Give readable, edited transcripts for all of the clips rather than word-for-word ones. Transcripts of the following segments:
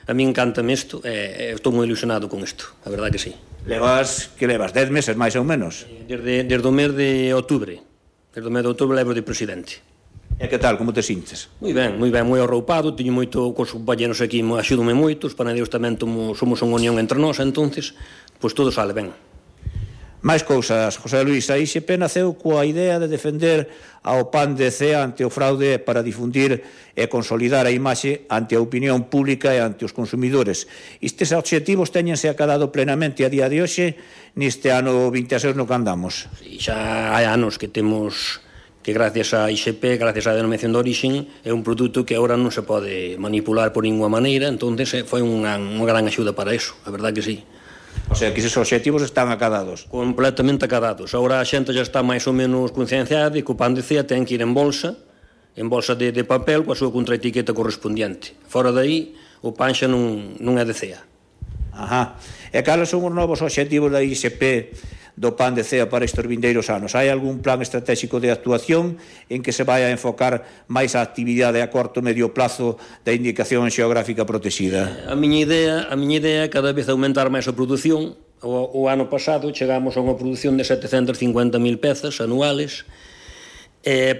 a mí encántame isto, estou moi ilusionado con isto, a verdade que sí. Levas 10 meses, máis ou menos? Desde o mes de outubro. Desde o mes de outubro levo de presidente. E que tal, como te sintes? Moi ben, moi arroupado, teño moito, cos compañeros aquí axúdome moito, os panaderos tamén somos unha unión entre nós, entonces, pois todo sale ben. Máis cousas, José Luis, a ISP naceu coa idea de defender ao pan de Cea ante o fraude para difundir e consolidar a imaxe ante a opinión pública e ante os consumidores. Estes obxectivos téñense acadado plenamente a día de hoxe neste ano 26 no que andamos. Sí, xa hai anos que temos que gracias a ISP, gracias á denominación de orixen, é un produto que agora non se pode manipular por ninguna maneira, entonces foi unha gran axuda para iso, a verdade que sí. O sea, que esos obxectivos están acadados. Completamente acadados. Agora a xente já está máis ou menos concienciada de que o pan de Cea ten que ir en bolsa de papel coa súa contraetiqueta correspondiente. Fora dai, o pan xa non é de Cea. Ajá. E cales son os novos obxectivos da ISP do pan de Cea para estes vindeiros anos? Hai algún plan estratégico de actuación en que se vai a enfocar máis a actividade a corto e medio plazo da indicación xeográfica protexida? A miña idea é cada vez aumentar máis a produción. O ano pasado chegamos a unha produción de 750.000 pezas anuales.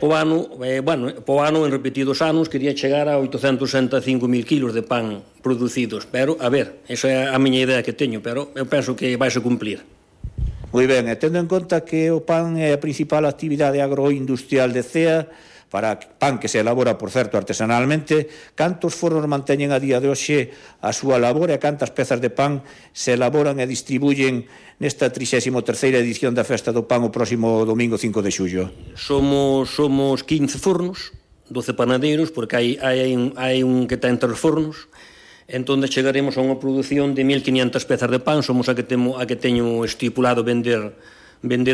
Po ano, en repetidos anos, quería chegar a 865.000 kilos de pan producidos. Pero, a ver, esa é a miña idea que teño, pero eu penso que vai se cumplir. Moi ben, e tendo en conta que o pan é a principal actividade agroindustrial de Cea, para pan que se elabora, por certo, artesanalmente, cantos fornos manteñen a día de hoxe a súa labor e cantas pezas de pan se elaboran e distribuyen nesta 33ª edición da Festa do Pan o próximo domingo 5 de xullo? Somos 15 fornos, 12 panadeiros, porque hai un que ten 3 fornos. Entón chegaremos a unha produción de 1.500 pezas de pan, somos a que teño estipulado vender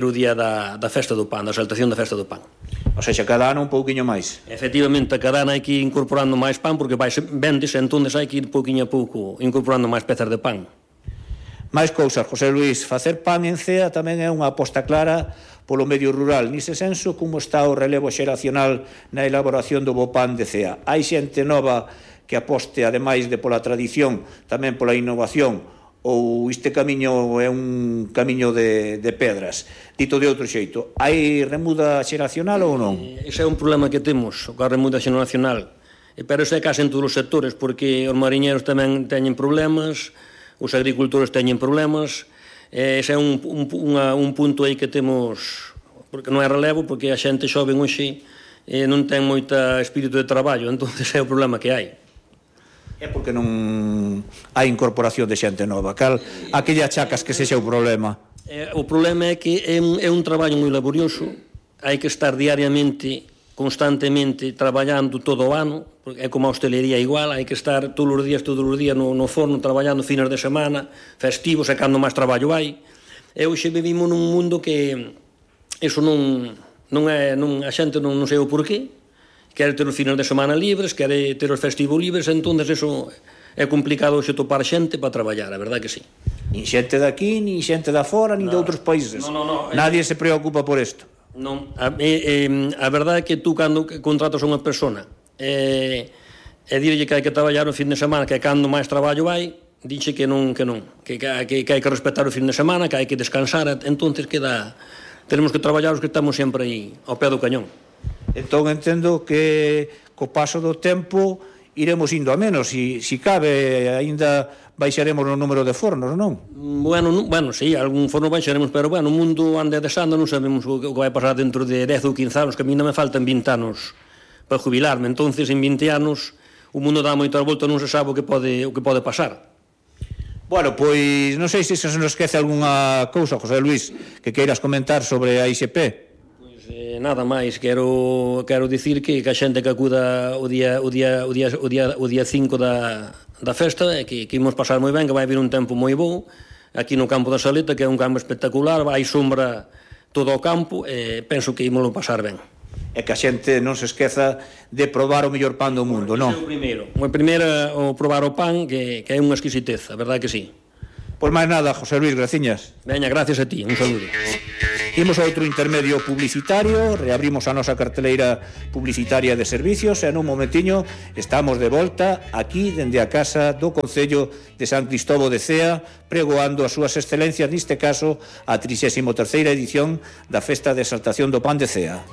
o día da Festa do Pan, da exaltación da Festa do Pan. O seja, cada ano un pouquiño máis. Efectivamente, cada ano hai que ir incorporando máis pan, porque vendese, entón hai que ir pouquiño a pouco incorporando máis pezas de pan. Máis cousas, José Luis, facer pan en Cea tamén é unha aposta clara polo medio rural. Nise senso, como está o relevo xeracional na elaboración do bo pan de Cea? Hai xente nova que aposte, ademais de pola tradición, tamén pola innovación, ou este camiño é un camiño de pedras? Dito de outro xeito, hai remuda xeracional ou non? Ese é un problema que temos, a remuda xeracional, pero ese é case en todos os sectores, porque os mariñeiros tamén teñen problemas, os agricultores teñen problemas, ese é un punto aí que temos, porque non é relevo, porque a xente xoven hoxe non ten moita espírito de traballo, entón é o problema que hai. É porque non hai incorporación de xente nova. A que lle achacas que sexa o problema? O problema é que é un traballo moi laborioso, hai que estar diariamente, constantemente traballando todo o ano, é como a hostelería igual, hai que estar todos os días no forno, traballando fines de semana, festivos, e cando máis traballo hai. E hoxe vivimos nun mundo que eso a xente non sei o porqué, quere ter os fines de semana libres, quere ter os festivos libres, entón eso é complicado hoxe topar xente para traballar, a verdade que sí. Nin xente de aquí, nin xente de fora, nin de outros países. Nadie se preocupa por isto. Non, a verdade é que tú cando contratas a unha persona e dirlle que hai que traballar o fin de semana, que cando máis traballo hai, dixe que non, que hai que respetar o fin de semana, que hai que descansar, entón tenemos que traballar os que estamos sempre aí ao pé do cañón. Entón entendo que co paso do tempo iremos indo a menos, si cabe, aínda baixaremos o número de fornos, non? Bueno, sí, algún forno baixaremos, pero o mundo anda desando, non sabemos o que vai pasar dentro de 10 ou 15 anos, que a mí non me faltan 20 anos para jubilarme, entonces en 20 anos o mundo dá moitas voltas, non se sabe o que pode pasar. Bueno, pois non sei se se nos esquece algunha cousa, José Luis, que queiras comentar sobre a ISP. Nada máis, quero dicir que a xente que acuda o día 5 da festa, que imos pasar moi ben, que vai vir un tempo moi bo aquí no campo da Saleta, que é un campo espectacular, hai sombra todo o campo, e penso que imos pasar ben. E que a xente non se esqueza de probar o mellor pan do mundo, non? O primeiro o probar o pan, que é unha exquisiteza, a verdade que sí. Pois máis nada, José Luis, graciñas. Veña, gracias a ti, un saludo. Imos a outro intermedio publicitario, reabrimos a nosa carteleira publicitaria de servicios e nun momentiño estamos de volta aquí dende a casa do Concello de San Cristóbal de Cea, pregoando as súas excelencias, neste caso a 33ª edición da Festa de Exaltación do Pan de Cea.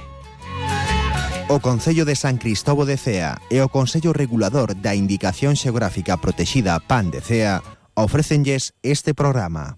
O Concello de San Cristóbal de Cea e o Consello Regulador da Indicación Xeográfica Protexida Pan de Cea ofrécenlles este programa.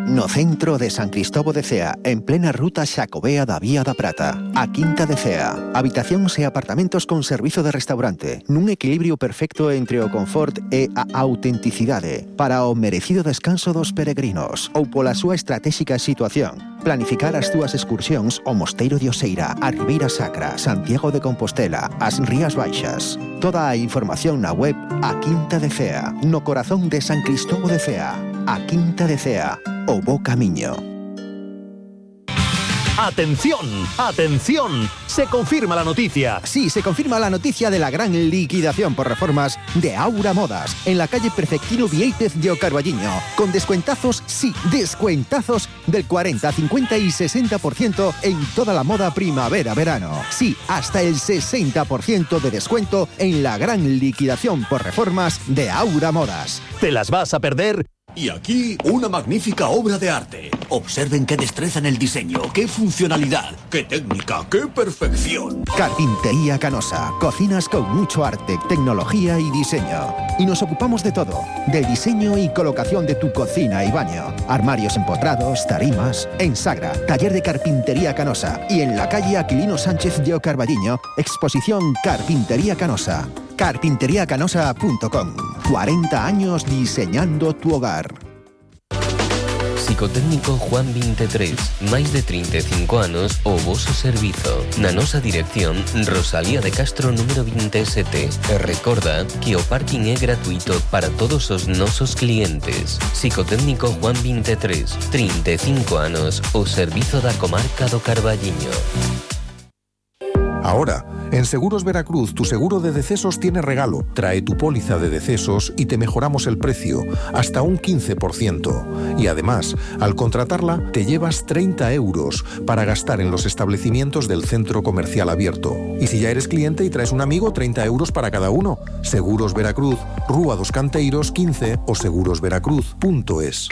No centro de San Cristóbal de Cea, en plena ruta Xacobea da Vía da Prata, a Quinta de Cea, habitacións e apartamentos con servizo de restaurante, nun equilibrio perfecto entre o confort e a autenticidade, para o merecido descanso dos peregrinos, ou pola súa estratégica situación. Planificar as túas excursións ao Mosteiro de Oseira, a Ribeira Sacra, Santiago de Compostela, as Rías Baixas. Toda a información na web A Quinta de Cea, no corazón de San Cristóbal de Cea. A Quinta de Cea, o bo camiño. ¡Atención! ¡Atención! Se confirma la noticia. Sí, se confirma la noticia de la gran liquidación por reformas de Aura Modas en la calle Perfectino Viéitez de Carballiño, con descuentazos, sí, descuentazos del 40, 50 y 60% en toda la moda primavera-verano. Sí, hasta el 60% de descuento en la gran liquidación por reformas de Aura Modas. ¿Te las vas a perder? Y aquí una magnífica obra de arte. Observen qué destreza en el diseño, qué funcionalidad, qué técnica, qué perfección. Carpintería Canosa. Cocinas con mucho arte, tecnología y diseño. Y nos ocupamos de todo. Del diseño y colocación de tu cocina y baño. Armarios empotrados, tarimas. En Sagra, taller de Carpintería Canosa. Y en la calle Aquilino Sánchez de Carballiño, exposición Carpintería Canosa. Carpinteriacanosa.com. 40 años diseñando tu hogar. Psicotécnico Juan 23, máis de 35 anos o voso servizo. Na nosa dirección, Rosalía de Castro número 27. E recorda que o parking é gratuito para todos os nosos clientes. Psicotécnico Juan 23, 35 anos, o servizo da comarca do Carballiño. Ahora, en Seguros Veracruz, tu seguro de decesos tiene regalo. Trae tu póliza de decesos y te mejoramos el precio, hasta un 15%. Y además, al contratarla, te llevas 30 euros para gastar en los establecimientos del centro comercial abierto. Y si ya eres cliente y traes un amigo, 30 euros para cada uno. Seguros Veracruz, Rúa dos Canteiros 15 o segurosveracruz.es.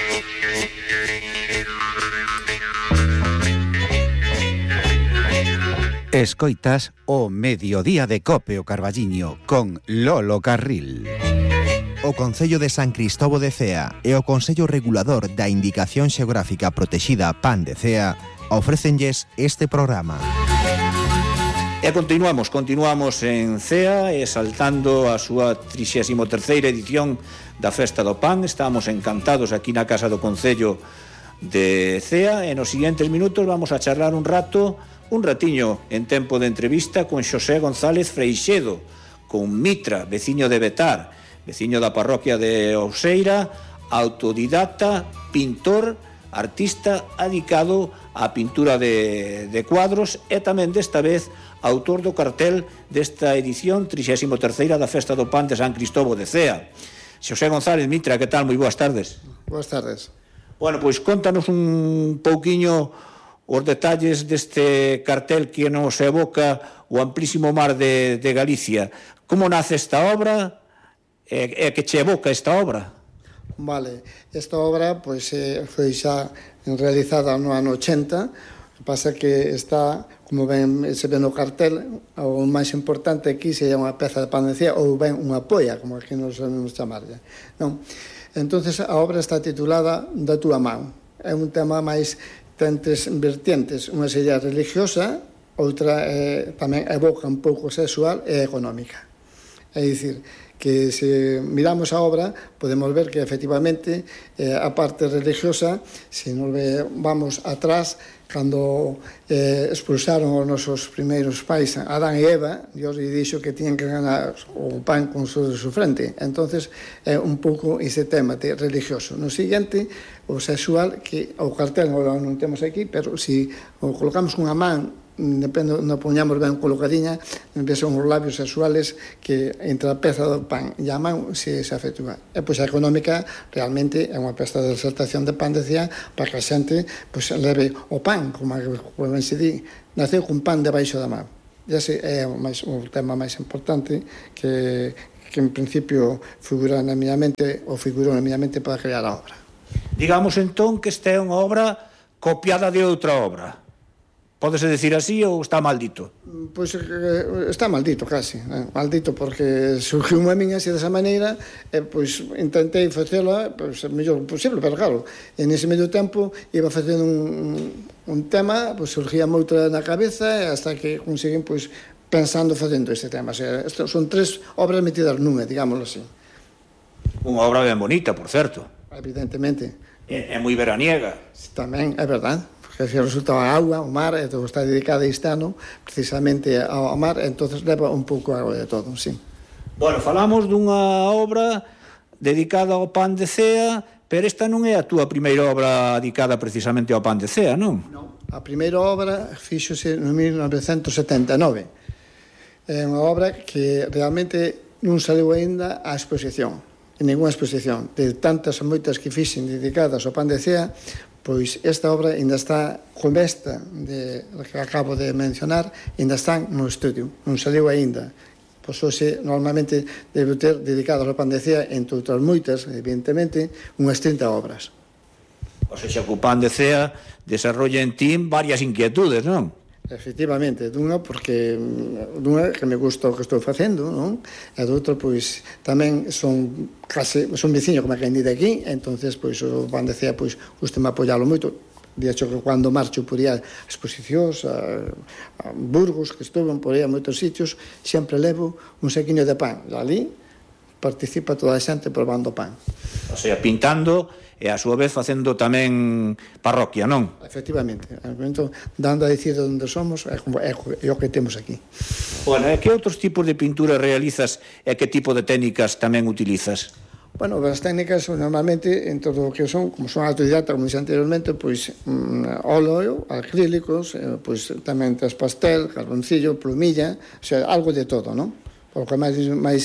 Escoitas o Mediodía de Cope o Carballiño con Lolo Carril. O Concello de San Cristóbal de Cea e o Consello Regulador da Indicación Xeográfica Protexida Pan de Cea ofrécenlles este programa. E continuamos en Cea, exaltando a súa 33ª edición da Festa do Pan. Estamos encantados aquí na Casa do Concello de Cea e nos seguintes minutos vamos a charlar un ratiño en tempo de entrevista con Xosé González Freixedo, con Mitra, veciño de Betar, veciño da parroquia de Oseira, autodidacta, pintor, artista adicado á pintura de cuadros e tamén desta vez autor do cartel desta edición 33ª da Festa do Pan de San Cristóbal de Cea. Xosé González, Mitra, que tal? Moi boas tardes. Boas tardes. Bueno, pois contanos un pouquiño os detalles deste cartel que nos evoca o amplísimo mar de Galicia. Como nace esta obra e que che evoca esta obra? Vale, esta obra pois, foi xa realizada no ano 80, pasa que está, como ben se ve no cartel, o máis importante aquí sería unha peza de pan de Cea ou ben unha polla, como aquí nos sabemos chamarlle. Non? Entonces a obra está titulada Da túa man. É un tema máis ten tres vertientes, unha sería religiosa, outra tamén evoca un pouco sexual e económica. É dicir, que se miramos a obra podemos ver que efectivamente a parte religiosa, se nos vamos atrás, cando expulsaron os nosos primeiros pais, Adán e Eva, Dios lle dixo que tiñan que ganar o pan con su frente. Entonces é un pouco ese tema religioso. No seguinte, o sexual, que o cartel non temos aquí, pero se o colocamos unha man depende, non poñamos ben colocadiña, son os labios sexuales que entre a peza do pan e a man se efectúa. E pois a económica realmente é unha pesta de exaltación de pan, decía, para que a xente pois leve o pan, como ben se di, naceu cun pan debaixo da man. E ese é o tema máis importante que en principio figurou na miña mente para crear a obra. Digamos entón que esta é unha obra copiada de outra obra. Pódese decir así ou está maldito? Pois está maldito casi, maldito porque surgiu a min así desa maneira e pois intentei facela pois, o mellor posible, pero claro, en ese medio tempo iba facendo un tema, pois surgía outra na cabeza e hasta que conseguín pois pensando facendo este tema. O sea, son 3 obras metidas nunha, digámoslo así. Unha obra ben bonita, por certo. Evidentemente. É moi veraniega. Tamén, é verdade. Que resulta a auga, o mar, e está dedicada este ano precisamente ao mar, entonces leva un pouco agua de todo, sí. Bueno, falamos dunha obra dedicada ao pan de cea, pero esta non é a túa primeira obra dedicada precisamente ao pan de cea, non? Non, a primeira obra fíxose en 1979. É unha obra que realmente non saliu aínda á exposición, en ninguna exposición. De tantas e moitas que fixen dedicadas ao pan de cea, pois esta obra ainda está como esta que acabo de mencionar, ainda están no estudio, non saliu aínda. Pois hoxe normalmente debe ter dedicadas ao pan de cea, entre outras moitas, evidentemente, unhas 30 obras. O sea, que o pan de cea desarrolla en ti varias inquietudes, non? Efectivamente, dunha porque que me gusta o que estou facendo, non? E doutra, pois, tamén son veciño como quen di de aquí, entonces, pois, o pan de cea, pois, gustame apoialo moito. De hecho, que cando marcho por aí a exposicións, a Burgos, que estuve por aí a moitos sitios, sempre levo un saquiño de pan. E ali participa toda a xente probando pan. O sea, pintando e a súa vez facendo tamén parroquia, non? Efectivamente, ao momento dando a dicir de onde somos é o que temos aquí. Bueno, e que outros tipos de pinturas realizas e que tipo de técnicas tamén utilizas? Bueno, as técnicas normalmente en todo o que son, como son autodidacta, como dixen anteriormente, pois óleo, acrílicos, pois tamén tes pastel, carboncillo, plumilla, o sea, algo de todo, non? O que máis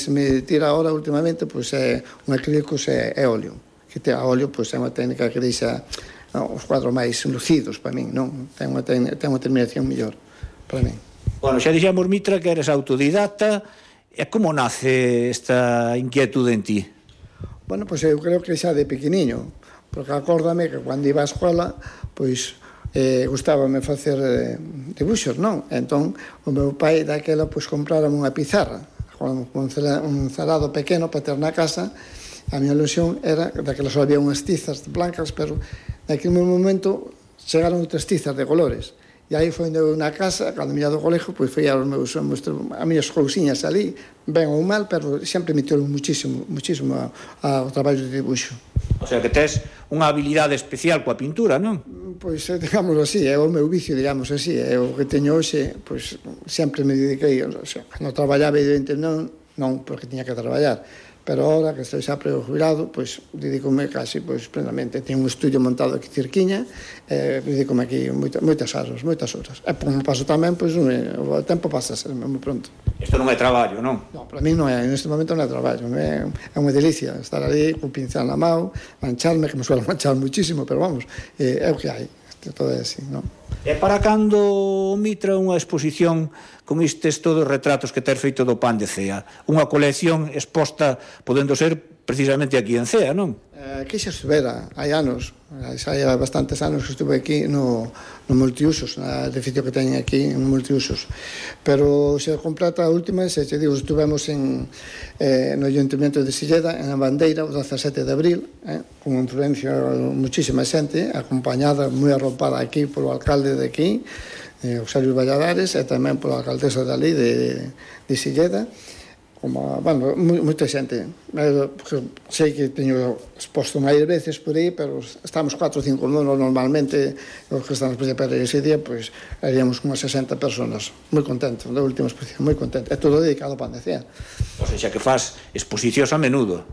me tira ahora últimamente pois é un acrílicos e óleo. Que a óleo pois é unha técnica que deixa os cuadros máis lucidos para min, non? Ten unha terminación mellor para min. Bueno, xa dixemos, Mitra, que eres autodidacta, e como nace esta inquietude en ti? Bueno, pois eu creo que xa de pequeniño, porque acórdame que cando iba á escola, pois gustábame facer dibuxos, non? Entón, o meu pai daquela pois comprárame unha pizarra, un cerado pequeno para ter na casa. A miña ilusión era, daquela só había unhas tizas blancas, pero naquele momento chegaron outras tizas de colores. E aí foi eu na casa, cando me ia do colexo, pois foi as miñas cousiñas ali, ben ou mal, pero sempre me tirou muchísimo ao traballo de dibuixo. O sea, que tes unha habilidade especial coa pintura, non? Pois, digámoslo así, é o meu vicio, digamos así, é o que teño hoxe, pois, sempre me dediquei, o sea, cando traballaba, evidente, non porque tiña que traballar, pero ahora que estou xa prejubilado, pois, dedícome casi, pois, plenamente. Teño un estudio montado aquí cerquiña, dedícome aquí moitas horas. E como paso tamén, pois, o tempo pasa a ser moi pronto. Isto non é traballo, non? Non, para mí non é, neste momento non é traballo, é unha delicia estar ali, con pincel na mão, mancharme, que me suelo manchar muchísimo, pero vamos, é o que hai, todo é así, non? E para cando, Mitra, unha exposición con estes todos os retratos que ter feito do pan de cea? Unha colección exposta, podendo ser precisamente aquí en Cea, non? Aquí xa estuvera, hai anos, hai bastantes anos que estuve aquí no multiusos, no edificio que teñen aquí no multiusos, pero se completa a última, se te digo, estuvemos no Ayuntamiento de Silleda, en a Bandeira, o 17 de abril, con influencia muchísima xente, acompañada, moi arropada aquí polo alcalde de aquí, Auxilio Valladares, e tamén pola alcaldesa dali de Silleda, como, bueno, moita xente. Sei que teño exposto máis veces por aí, pero estamos 4 ou 5 normalmente, os que estamos, pero ese día, pois, haríamos unhas 60 personas, moi contentos, da última exposición, moi contentos. É todo dedicado ao pan de cea. O sea, que faz exposicións a menudo.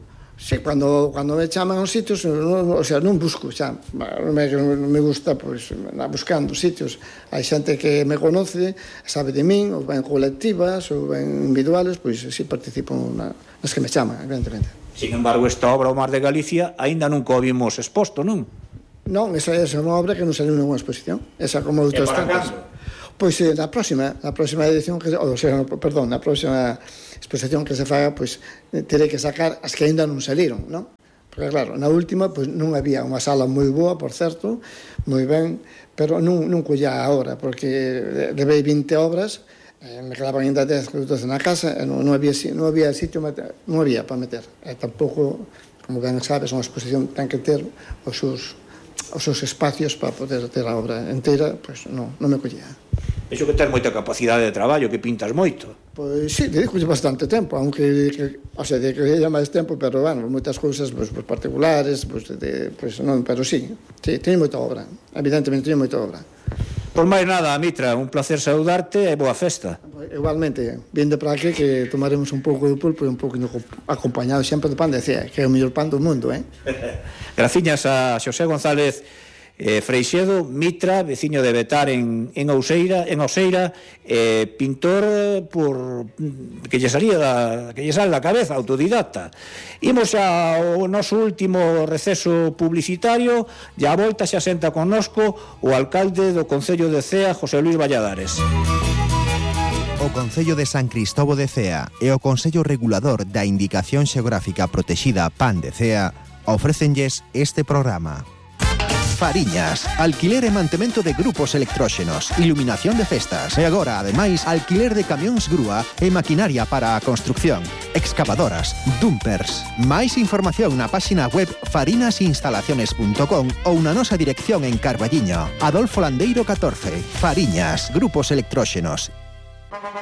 Sí, cando me chaman aos sitios, o sea, non busco xa, me gusta pois andar buscando sitios. Hai xente que me conoce, sabe de min, ou ben colectivas, ou ben individuales, pois si participo nas que me chaman, evidentemente. Sin embargo, esta obra, O Mar de Galicia, aínda nunca o vimos exposto, non? Non, esa é unha obra que non saliu nunha exposición. Esa como outras tantas. Pois na próxima edición, na próxima exposición que se faga, pois terei que sacar as que aínda non saliron, non? Porque claro, na última pois non había unha sala moi boa, por certo, moi ben, pero non collía a obra, porque levei 20 obras, me quedaban ainda 10 minutos na casa, e non había sitio, non había para meter. E tampouco, como ben sabes, unha exposición ten que ter os seus espacios para poder ter a obra inteira, pois non me collía. Vexo que tens moita capacidade de traballo, que pintas moito. Pois sí, dedico bastante tempo, aunque dedicaría máis tempo, pero, bueno, moitas cousas particulares, non, pero sí, teño moita obra, evidentemente teño moita obra. Por máis nada, Mitra, un placer saudarte e boa festa. Igualmente, vindo para aquí que tomaremos un pouco de pulpo e un pouco acompañado sempre de pan de cea, que é o mellor pan do mundo, Graciñas a Xosé González Freixedo, Mitra, veciño de Betar en Ouseira, pintor que lle sale da cabeza, autodidacta. Imos ao noso último receso publicitario e a volta xa senta connosco o alcalde do Concello de Cea, José Luis Valladares. O Concello de San Cristobo de Cea e o Consello Regulador da Indicación Xeográfica Protexida PAN de Cea ofrécenlles este programa. Fariñas, alquiler e mantemento de grupos electróxenos, iluminación de festas e agora, ademais, alquiler de camións grúa e maquinaria para a construcción, excavadoras, dumpers. Máis información na páxina web farinasinstalaciones.com ou na nosa dirección en Carballiño, Adolfo Landeiro 14. Fariñas, grupos electróxenos.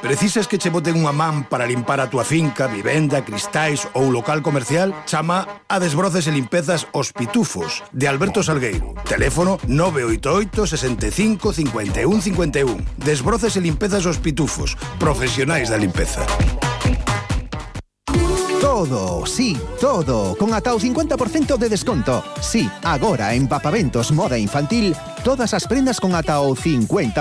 Precisas que che boten unha man para limpar a túa finca, vivenda, cristais ou local comercial? Chama a Desbroces e Limpezas Os Pitufos, de Alberto Salgueiro. Teléfono 988 65 51 51. Desbroces e Limpezas Os Pitufos, profesionais da limpeza. Todo, sí, todo, con ata o 50% de desconto. Sí, agora en Papaventos Moda Infantil, todas as prendas con ata o 50%.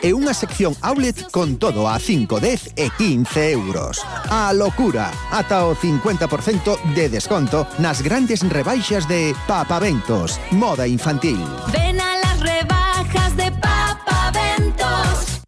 E unha sección outlet con todo a 5, 10 e 15 euros. A locura, ata o 50% de desconto nas grandes rebaixas de Papaventos Moda Infantil. Ven a las rebajas de Papaventos.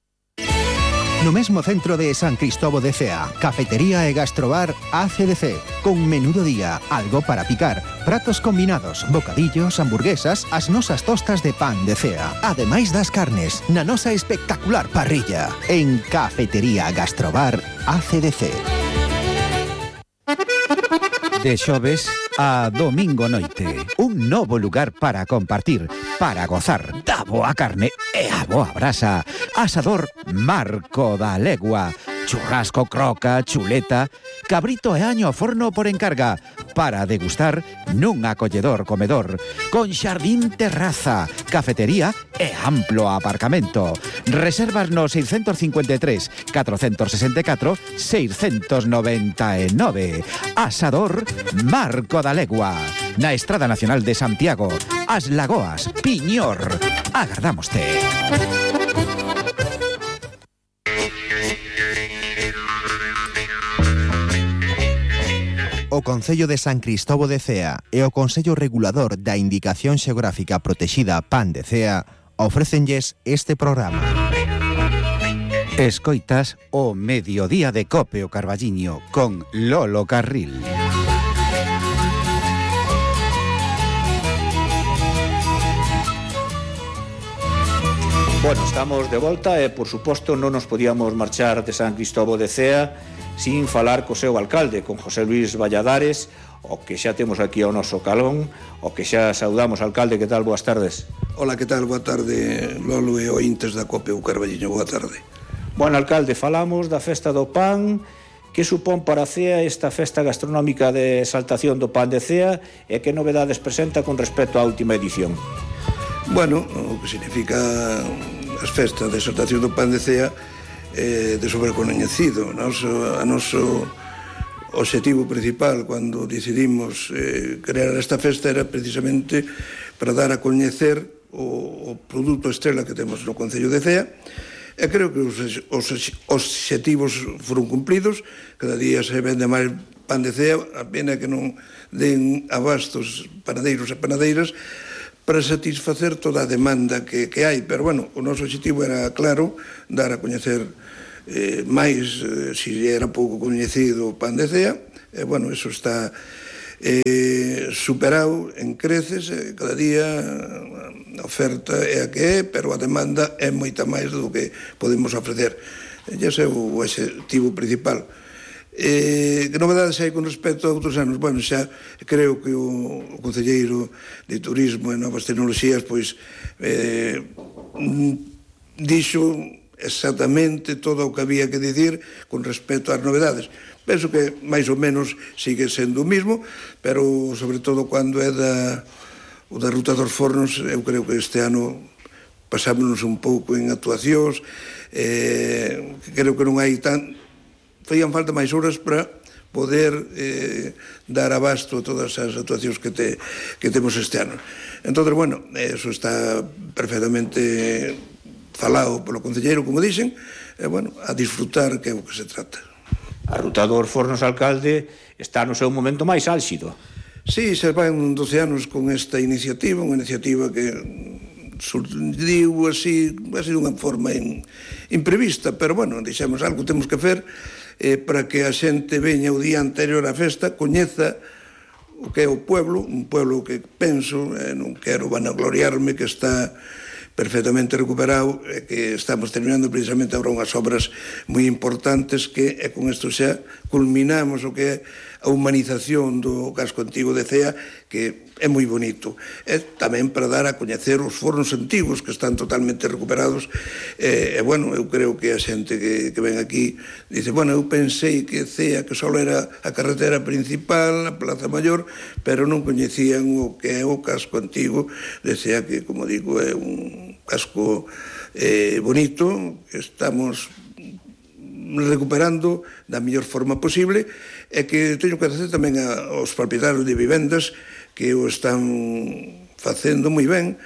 No mesmo centro de San Cristobo de Cea, cafetería e gastrobar ACDC, con menú do día, algo para picar, pratos combinados, bocadillos, hamburguesas, as nosas tostas de pan de Cea, ademais das carnes, na nosa espectacular parrilla, en Cafetería Gastrobar ACDC. De xoves a domingo noite, un novo lugar para compartir, para gozar da boa carne e a boa brasa. Asador Marco da Legua, churrasco, croca, chuleta, cabrito e año ao forno por encarga, para degustar nun acolledor comedor, con xardín, terraza, cafetería e amplo aparcamento. Reservas no 653 464 699. Asador Marco da Legua, na Estrada Nacional de Santiago, As Lagoas, Piñor. Agardámoste. O Concello de San Cristobo de Cea e o Consello Regulador da Indicación Xeográfica Protexida PAN de Cea ofrécenlles este programa. Escoitas o Mediodía de Cope o Carballiño con Lolo Carril. Bueno, estamos de volta e, por suposto, non nos podíamos marchar de San Cristobo de Cea sin falar co seu alcalde, con José Luis Valladares, o que xa temos aquí ao noso calón, o que xa saudamos. Alcalde, que tal? Boas tardes. Hola, que tal? Boa tarde, Lolo e ointes da Cope o Carballiño. Boa tarde. Bueno, alcalde, falamos da festa do pan. Que supón para Cea esta festa gastronómica de exaltación do pan de Cea e que novedades presenta con respecto á última edición? Bueno, o que significa as festas de exaltación do pan de Cea de sobrecoñecido. O o objetivo principal cando decidimos crear esta festa era precisamente para dar a coñecer o produto estrela que temos no Concello de Cea, e creo que os obxectivos foron cumplidos. Cada día se vende máis pan de Cea, a pena que non den abastos panadeiros e panadeiras para satisfacer toda a demanda que hai, pero bueno, o noso objetivo era claro, dar a coñecer máis, se era pouco coñecido o pan de Cea, e bueno, eso está superado en creces, cada día a oferta é a que é, pero a demanda é moita máis do que podemos ofrecer. Ese é o objetivo principal. Que novedades hai con respecto a outros anos? Bueno, xa creo que o concelleiro de Turismo e Novas Tecnoloxías pois dixo exactamente todo o que había que dicir con respecto ás novedades. Penso que máis ou menos sigue sendo o mismo, pero sobre todo cando é o da Ruta dos Fornos, eu creo que este ano pasámonos un pouco en actuacións, creo que non hai faían falta máis horas para poder dar abasto a todas as actuacións que temos este ano. Entón, bueno, eso está perfectamente falado polo concelleiro, como dixen, e, bueno, a disfrutar, que é o que se trata. A Ruta dos Fornos, alcalde, está no seu momento máis álxido. Sí, se van 12 anos con esta iniciativa, unha iniciativa que surdiu así de unha forma imprevista, pero, bueno, dixemos algo temos que fer para que a xente veña o día anterior á festa, coñeza o que é o pueblo, un pueblo que penso, non quero vanagloriarme, que está perfectamente recuperado, que estamos terminando precisamente agora unhas obras moi importantes que con isto xa culminamos o que é a humanización do casco antigo de Cea, que é moi bonito. E tamén para dar a coñecer os fornos antigos que están totalmente recuperados. E, bueno, eu creo que a xente que ven aquí dice, bueno, eu pensei que Cea que só era a carretera principal, a Plaza Maior, pero non coñecían o que é o casco antigo de Cea, que, como digo, é un casco bonito, que estamos recuperando da mellor forma posible, e que teño que agradecer tamén aos propietarios de vivendas que o están facendo moi ben.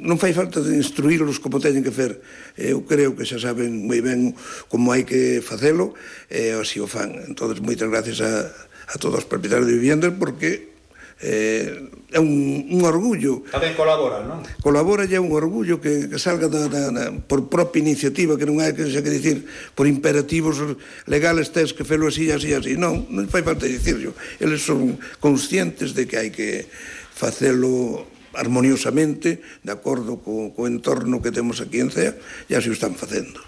Non fai falta de instruírlos como teñen que fer. Eu creo que xa saben moi ben como hai que facelo, e así o fan. Entón, moitas gracias a todos os propietarios de vivendas, porque é un orgullo. Tamén colaboran, non? Colabora, e é un orgullo que salga por propia iniciativa, que non hai que dicir por imperativos legales tens que felo así, así, así. Non fai falta dicirlo. Eles son conscientes de que hai que facelo armoniosamente, de acordo co entorno que temos aquí en Cea, e así o están facendo.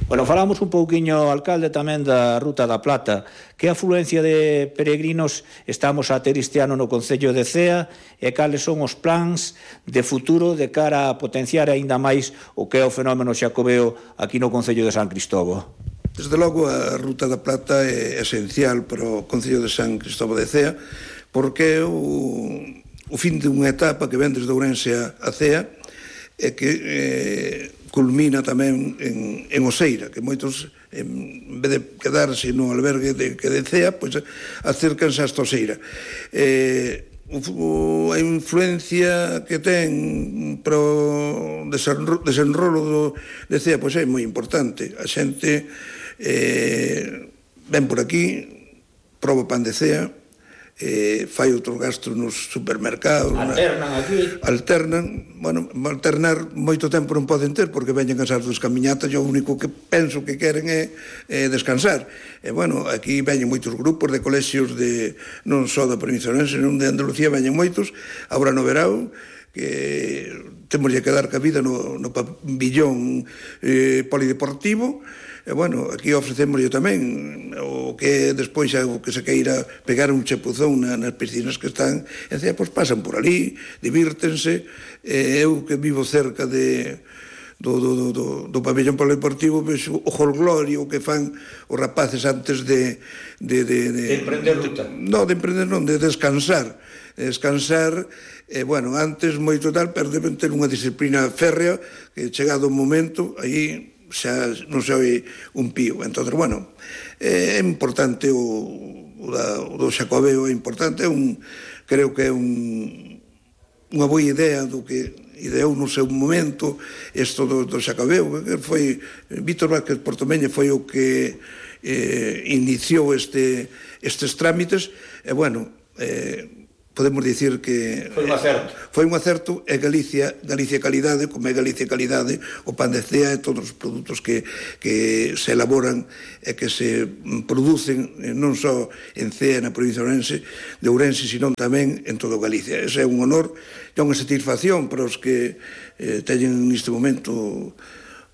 Bueno, falamos un pouquiño, alcalde, tamén da Ruta da Plata. Que afluencia de peregrinos estamos a ter este ano no Concello de Cea, e cales son os plans de futuro de cara a potenciar aínda máis o que é o fenómeno xacobeo aquí no Concello de San Cristóbo? Desde logo, a Ruta da Plata é esencial para o Concello de San Cristóbo de Cea, porque é o fin de unha etapa que ven desde Ourense a Cea, e que culmina tamén en Oseira, que moitos, en vez de quedarse no albergue de Cea, pois acércanse hasta Oseira. A influencia que ten para o desenrolo de Cea pois é moi importante. A xente ven por aquí, proba pan de Cea, fai outro gasto nos supermercados, alternan aquí, bueno, alternar moito tempo non poden ter porque veñen cansados das camiñatas, e o único que penso que queren é descansar. E, bueno, aquí veñen moitos grupos de colexios non só da provincia de Ourense, senón de Andalucía, veñen moitos, agora no verao, que temos que dar cabida no pabillón polideportivo. E, bueno, aquí ofrecemos tamén o que despois o que se queira pegar un chapuzón nas piscinas que están en Cea, pois pasan por ali, divírtense. Eu que vivo cerca do pabellón polideportivo, pois o jolgorio que fan os rapaces antes de emprender ruta. Non, de emprender non, de descansar. Bueno, antes moito tal, pero deben ter unha disciplina férrea que chegado o momento, aí xa non se oi un pío. Entón, bueno, é importante o o do Xacobeo é importante, creo que é unha boa idea do que ideou no seu momento isto do Xacobeo, que foi Víctor Vázquez Portomeña foi o que iniciou estes trámites, e bueno, podemos dicir que foi un acerto, e Galicia calidade, como é Galicia calidade, o pan de cea e todos os produtos que se elaboran e que se producen non só en Cea, na provincia de Ourense, sino tamén en todo Galicia. Ese é un honor e unha satisfacción para os que teñen neste momento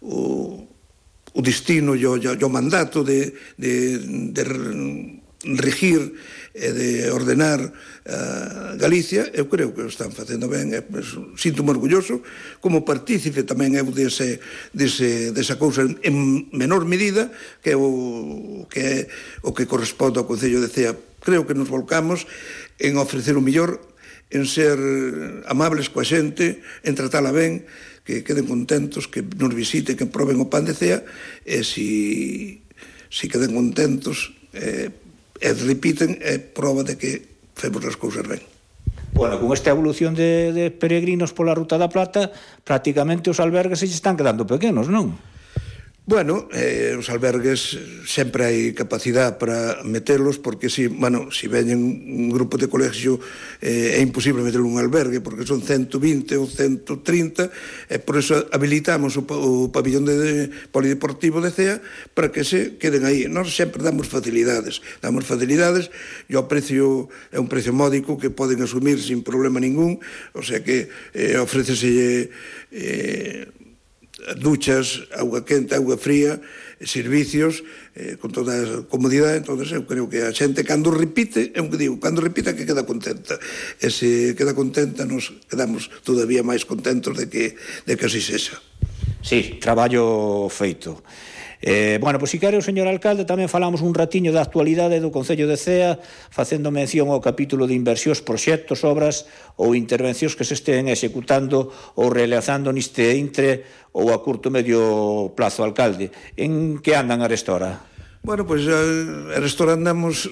o destino e o mandato de regir e de ordenar Galicia. Eu creo que o están facendo ben, sinto-me orgulloso como partícipe tamén eu desa cousa en menor medida que o que corresponde ao Concello de Cea. Creo que nos volcamos en ofrecer o mellor, en ser amables coa xente, en tratala ben, que queden contentos, que nos visiten, que proben o pan de Cea, e si queden contentos e repiten, é prova de que femos as cousas ben. Bueno, con esta evolución de peregrinos pola Ruta da Plata, prácticamente os albergues se están quedando pequenos, non? Bueno, os albergues sempre hai capacidade para meterlos, porque si veñen un grupo de colegio é imposible meter un albergue, porque son 120 ou 130, e por eso habilitamos o pabillón polideportivo de Cea para que se queden aí. Nós sempre damos facilidades, e o precio é un precio módico que poden asumir sin problema ningún, o sea que ofrécese duchas, auga quente, auga fría, servicios, con toda a comodidade. Entón, eu creo que a xente, cando repite, é o que digo, cando repita que queda contenta. E se queda contenta, nos quedamos todavía máis contentos de que así sexa. Sí, traballo feito. Bueno, pois si quere o señor alcalde, tamén falamos un ratiño da actualidade do Concello de Cea, facendo mención ao capítulo de inversións, proxectos, obras ou intervencións que se estén executando ou realizando neste intre ou a curto medio plazo, alcalde. En que andan arestora? Bueno, pois arestora andamos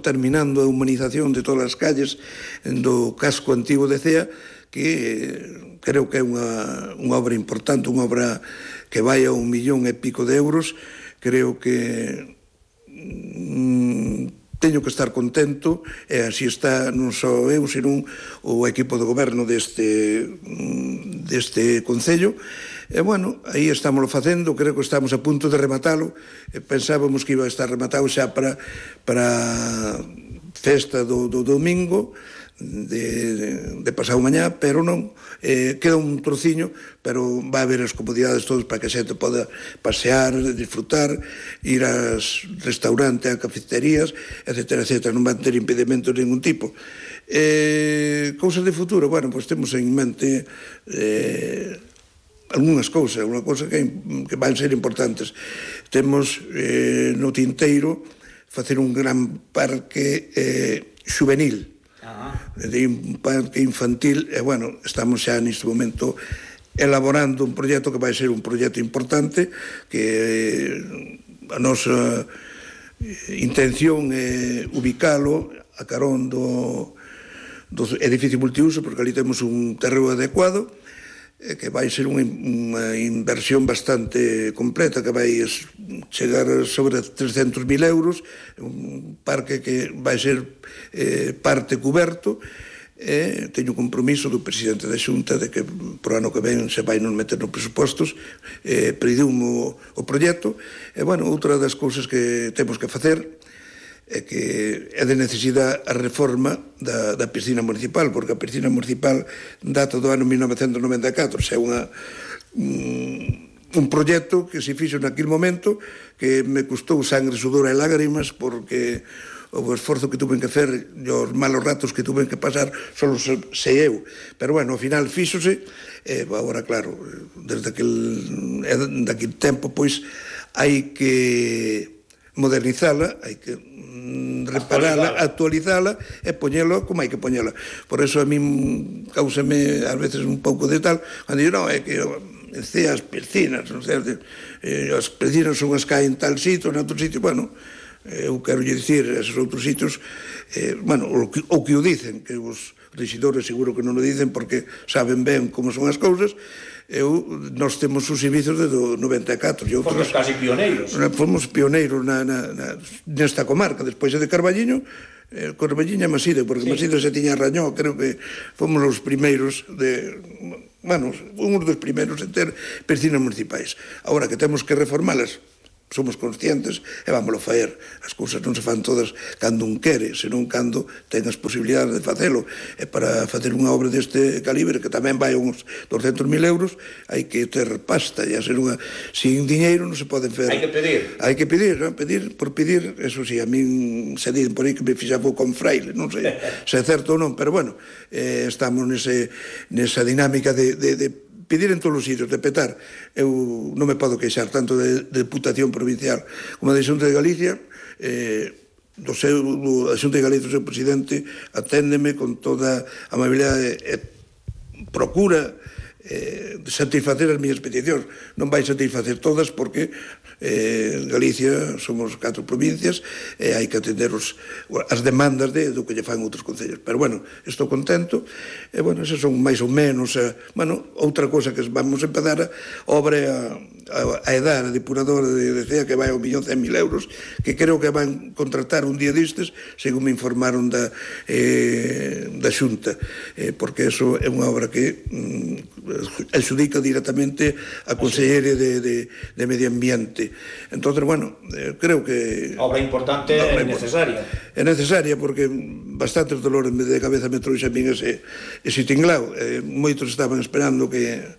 terminando a humanización de todas as calles do casco antigo de Cea, que creo que é unha obra importante, unha obra que vai a 1,5 millón de euros. Creo que teño que estar contento, e así está non só eu, sino o equipo de goberno deste Concello. E, bueno, aí estamos facendo, creo que estamos a punto de rematalo. Pensábamos que iba a estar rematado xa para festa do domingo, de pasado mañá, pero non, queda un trociño, pero vai haber as comodidades todos para que a xente poda pasear, disfrutar, ir aos restaurantes, a cafeterías, etcétera, etcétera. Non van ter impedimentos de ningún tipo. Cousas de futuro, bueno, pois temos en mente algunhas cousas, unha cousa que van ser importantes. Temos no tinteiro facer un gran parque juvenil, de un parque infantil, e, bueno, estamos xa neste momento elaborando un proxecto que vai ser un proxecto importante, que a nosa intención é ubicalo a carón do edificio multiuso, porque ali temos un terreo adecuado, que vai ser unha inversión bastante completa, que vai chegar sobre 300.000 euros, un parque que vai ser parte cuberto. Teño compromiso do presidente da Xunta de que por ano que ven se vai nos meter nos presupostos, pediumo o proxecto. E, bueno, outra das cousas que temos que facer é que é de necesidade a reforma da piscina municipal, porque a piscina municipal data do ano 1994, é un proxecto que se fixo naquele momento, que me custou sangre, sudor e lágrimas, porque o esforzo que tuve que hacer e os malos ratos que tuve que pasar solo sei eu, pero, bueno, ao final fíxose. Agora, claro, desde daquele tempo, pois, hai que modernizala, hai que reparala, actualizala e poñelo como hai que poñela. Por eso a min causame ás veces un pouco de tal, cando digo, non, é que as piscinas, non sei, as piscinas son as que hai en tal sitio, en outro sitio. Bueno, eu quero lle dicir a esos outros sitios, bueno, o que o dicen, que os rexidores seguro que non o dicen porque saben ben como son as cousas. Nós temos os servizos desde o 94 e outros, fomos casi pioneiros. Fomos pioneiros nesta comarca. Despois de Carballiño, Carballiño e Maside, porque Maside se tiña Rañó, creo que fomos os primeiros un dos primeiros en ter piscinas municipais. Agora que temos que reformalas, somos conscientes e vámoslo faer. As cousas non se fan todas cando un quere, senón cando ten as posibilidades de facelo. E para facer unha obra deste calibre, que tamén vai uns 200.000 euros, hai que ter pasta, e a ser unha... Sin diñeiro non se poden fer. Hai que pedir. Hai que pedir, non? Pedir por pedir, eso sí, a min se dicen por aí que me fixaba con fraile, non sei se é certo ou non, pero bueno, estamos nesa dinámica de pedir en todos os sitios, de petar. Eu non me podo queixar tanto de Deputación Provincial como da Xunta de Galicia. A Xunta de Galicia, o seu presidente, aténdeme con toda a amabilidade e procura satisfacer as miñas peticións. Non vai satisfacer todas porque Galicia somos 4 provincias e hai que atender as demandas do que lle fan outros concellos. Pero bueno, estou contento e bueno, esas son máis ou menos outra cosa que vamos a empezar a obra a edar a depuradora de Cea, que vai ao 1.100.000 euros, que creo que van contratar un día destes, según me informaron da Xunta, porque eso é unha obra que adxudica directamente a Consellería de Medio Ambiente. Entón, bueno, creo que... Obra importante e necesaria. É necesaria porque bastantes dolores de cabeza me trouxe a min ese tinglao. Moitos estaban esperando que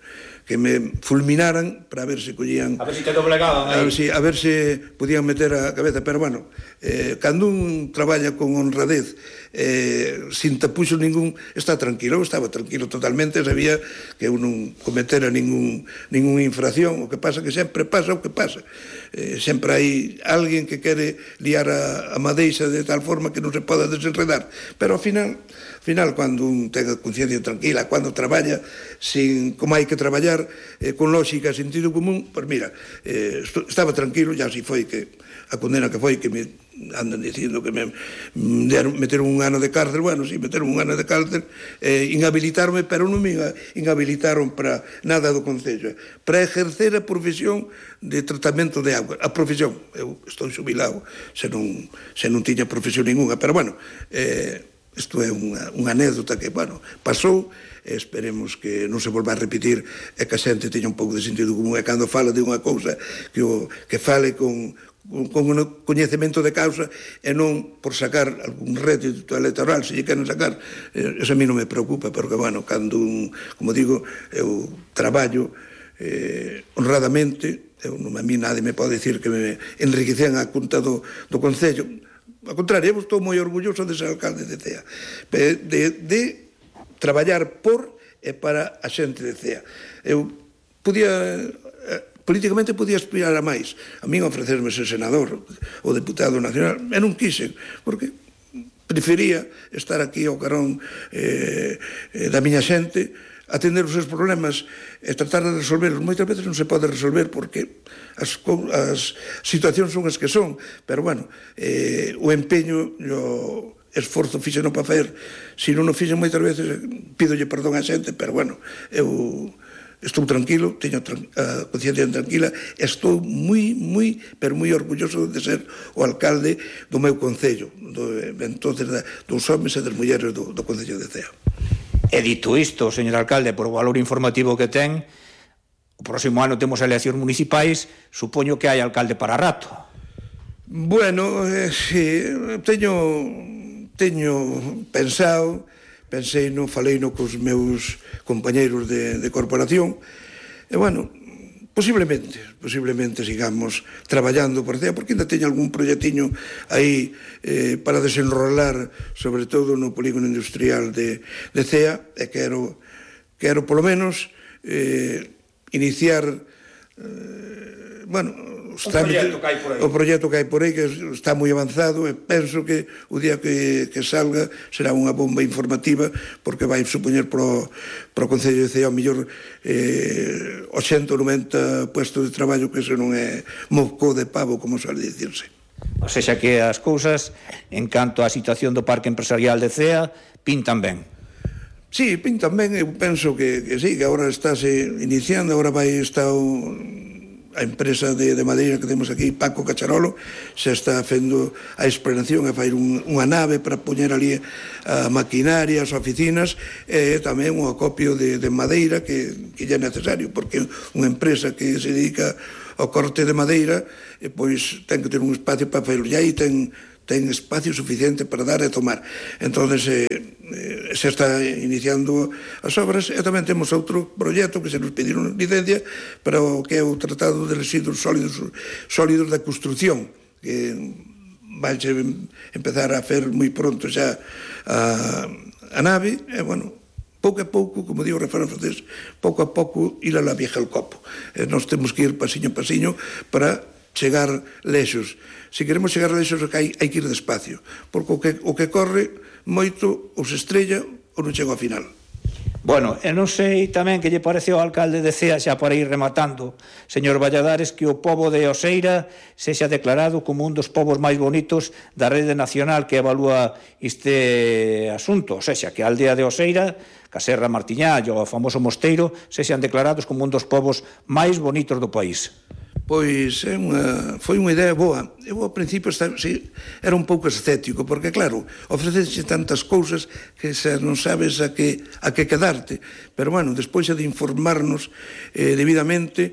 me fulminaran para ver se collían... A ver se te doblegaban aí. A ver se podían meter a cabeza. Pero, bueno, cando un traballa con honradez, sin tapuxo ningún, está tranquilo. Eu estaba tranquilo totalmente, sabía que eu non cometera ninguna infracción. O que pasa que sempre pasa o que pasa. Sempre hai alguén que quere liar a madeixa de tal forma que non se poda desenredar. Pero, ao final, cando un ten a conciencia tranquila, cando traballa como hai que traballar, con lógica e sentido común, pois mira, estaba tranquilo, ya así foi que a condena que foi, que me andan dicindo que me meteron un ano de cárcel. Bueno, sí, meteron un ano de cárcel, inhabilitarme, pero non me inhabilitaron para nada do Concello, para exercer a profesión de tratamento de auga. A profesión, eu estou xubilado, se non tiña profesión ninguna, pero bueno, isto é unha anécdota que, bueno, pasou. Esperemos que non se volva a repetir e que a xente teña un pouco de sentido común, e cando fala de unha cousa que fale con coñecemento de causa e non por sacar algún rédito electoral. Se lle queren sacar, eso a mí non me preocupa, porque, bueno, cando como digo, eu traballo honradamente, a mí nadie me pode dicir que me enriquecen a conta do Concello. Ao contrario, eu estou moi orgulloso de ser alcalde de Cea, de traballar por e para a xente de Cea. Eu políticamente podía aspirar a máis. A min ofrecerme ser senador ou deputado nacional, e non quise, porque prefería estar aquí ao carón da miña xente, atender os seus problemas e tratar de resolverlos. Moitas veces non se pode resolver porque as situacións son as que son, pero bueno, o empeño, o esforzo fixeno para facer, se non o fixen moitas veces, pídolle perdón a xente, pero bueno, eu estou tranquilo, teño a conciencia tranquila, estou moi, pero moi orgulloso de ser o alcalde do meu concello, dos homens e das mulleres do concello de Cea. E dito isto, señor alcalde, por o valor informativo que ten, o próximo ano temos eleccións municipais, supoño que hai alcalde para rato. Bueno, sí, teño pensado, faleino cos meus compañeiros de corporación, e, bueno, posiblemente sigamos traballando por Cea, porque ainda teño algún proxectiño aí para desenrolar, sobre todo no polígono industrial de Cea, e quero polo menos iniciar o proxecto que hai por aí, que está moi avanzado, e penso que o día que salga será unha bomba informativa, porque vai supoñer pro Concello de Cea ao mellor 80 ou 90 puestos de traballo, que eso non é moco de pavo, como suele dicirse. O sexa que as cousas, en canto á situación do Parque Empresarial de Cea, pintan ben. Sí, pintan ben, eu penso que sí, que agora estáse iniciando, agora vai estar a empresa de madeira que temos aquí, Paco Cacharolo, xa está facendo a explanación e fai unha nave para poñer ali a maquinaria, as oficinas, e tamén un acopio de madeira que é necesario, porque unha empresa que se dedica ao corte de madeira, pois ten que ter un espacio para fazer, e aí ten espacio suficiente para dar e tomar. Entonces se está iniciando as obras, e tamén temos outro proxecto que se nos pediron licencia para o que é o Tratado de Residuos Sólidos da Construcción, que vai empezar a fer moi pronto xa a nave, e bueno, pouco a pouco, como digo o refrán francés, pouco a pouco ir a la vieja al copo. Nós temos que ir pasiño a pasiño para chegar lexos. Se queremos chegar lexos, hai que ir despacio, porque o que corre moito ou se estrella ou non chega ao final. Bueno, e non sei tamén que lle parece ao alcalde de Cea, xa para ir rematando, señor Valladares, que o pobo de Oseira sexa declarado como un dos povos máis bonitos da rede nacional que evalúa este asunto, ou sexa, que a aldea de Oseira, Caserra Martiñá e o famoso Mosteiro sexan declarados como un dos povos máis bonitos do país. Pois foi unha idea boa. Eu ao principio era un pouco escéptico, porque claro, ofrecense tantas cousas que xa non sabes a que quedarte. Pero bueno, despois de informarnos debidamente,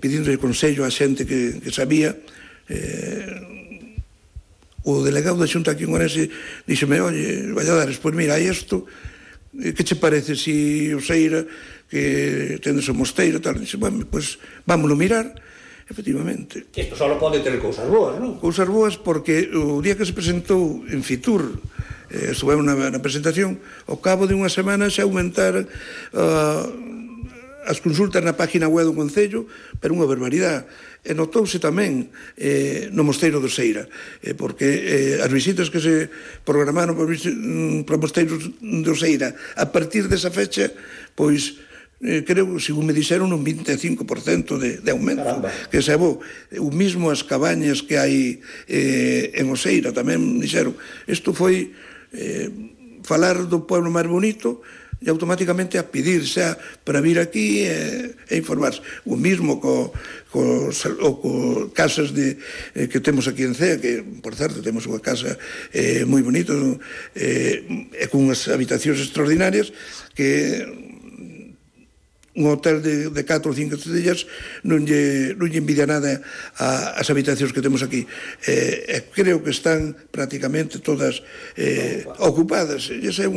pedindo consello a xente que sabía, o delegado da Xunta aquí en Ourense díxeme, oye, Valladares, pois mira, hai isto, que che parece si Oseira, que tendes o Mosteiro, tal, dixe, bueno, pois vámoslo mirar, efectivamente. Isto só pode ter cousas boas, non? Cousas boas, porque o día que se presentou en Fitur, estuvemos na presentación, ao cabo de unha semana xa aumentaron as consultas na página web do Concello, pero unha barbaridade. E notouse tamén no Mosteiro de Oseira, porque as visitas que se programaron para o Mosteiro de Oseira a partir desa fecha, pois creo, según me dixeron, un 25% de aumento. Caramba. Que se bo. O mismo as cabañas que hai en Oseira tamén dixeron. Isto foi falar do pueblo máis bonito e automáticamente a pedir xa para vir aquí e informarse. O mismo co casas que temos aquí en Cea, que, por certo, temos unha casa moi bonita e con unhas habitacións extraordinarias que un hotel de 4 ou 5 estrellas non lle envidia nada as habitacións que temos aquí. Creo que están prácticamente todas ocupadas. Esa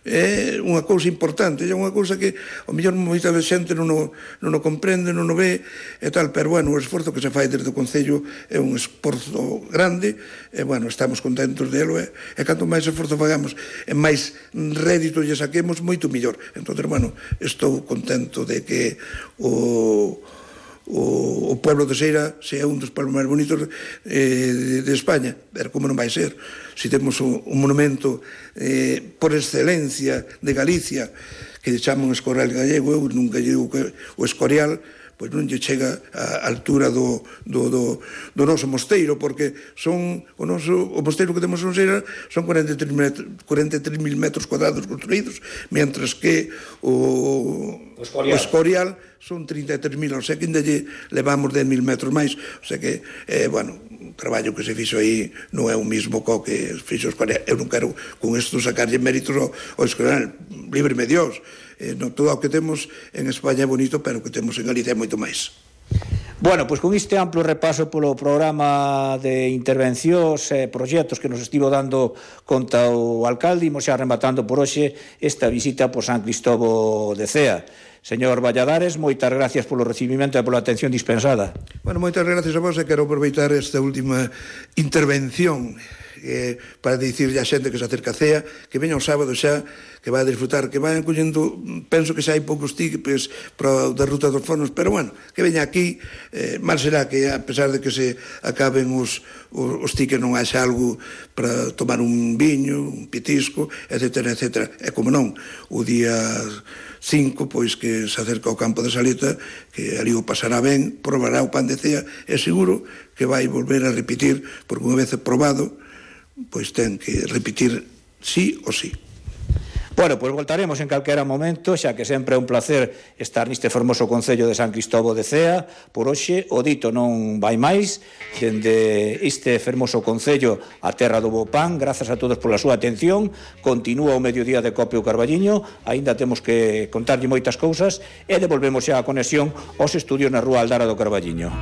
é unha cousa importante, é unha cousa que ao mellor moita xente non o comprende, non o ve e tal, pero bueno, o esforzo que se fai desde o Concello é un esforzo grande e bueno, estamos contentos delo e canto máis esforzo fagamos e máis rédito lle saquemos, moito mellor. Entón, bueno, estou contento de que o pueblo de Oseira sea un dos pueblos máis bonitos de España, pero como non vai ser? Se temos un monumento por excelencia de Galicia que chaman Escorial gallego, eu nunca digo que o Escorial pois non lle chega á altura do noso mosteiro, porque o mosteiro que temos en Oseira son 43.000 metros cuadrados construídos, mentras que o Escorial son 33.000, o sea que ainda lle levamos 10.000 metros máis, o sea que, bueno, o traballo que se fixo aí non é o mismo co que fixo o Escorial. Eu non quero con isto sacarlle méritos ao Escorial, líbreme Dios. Todo o que temos en España é bonito, pero o que temos en Galicia é moito máis. Bueno, pois con este amplo repaso polo programa de intervencións e proxectos que nos estivo dando conta o alcalde, imos xa rematando por hoxe esta visita por San Cristóbo de Cea. Señor Valladares, moitas gracias polo recibimento e pola atención dispensada. Bueno, moitas gracias a vos e quero aproveitar esta última intervención para dicirlle a xente que se acerca a Cea que veña o sábado xa, que vai a disfrutar, que vai collendo, penso que xa hai poucos tickets da Ruta dos Fornos, pero bueno, que veña aquí, mal será que a pesar de que se acaben os tickets non haxa algo para tomar un viño, un pitisco, etcétera, etcétera. E como non, o día 5, pois que que se acerca ao campo de Saleta, que ali o pasará ben, probará o pan de cea, é seguro que vai volver a repetir, porque unha vez probado, pois ten que repetir sí ou sí. Bueno, pois voltaremos en calquera momento, xa que sempre é un placer estar neste fermoso Concello de San Cristóbal de Cea. Por hoxe, o dito non vai máis. Dende este fermoso Concello a terra do bo pan, grazas a todos pola súa atención. Continúa o mediodía de Copio Carballiño, aínda temos que contarlle moitas cousas, e devolvemos xa a conexión aos estudios na Rúa Aldara do Carballiño.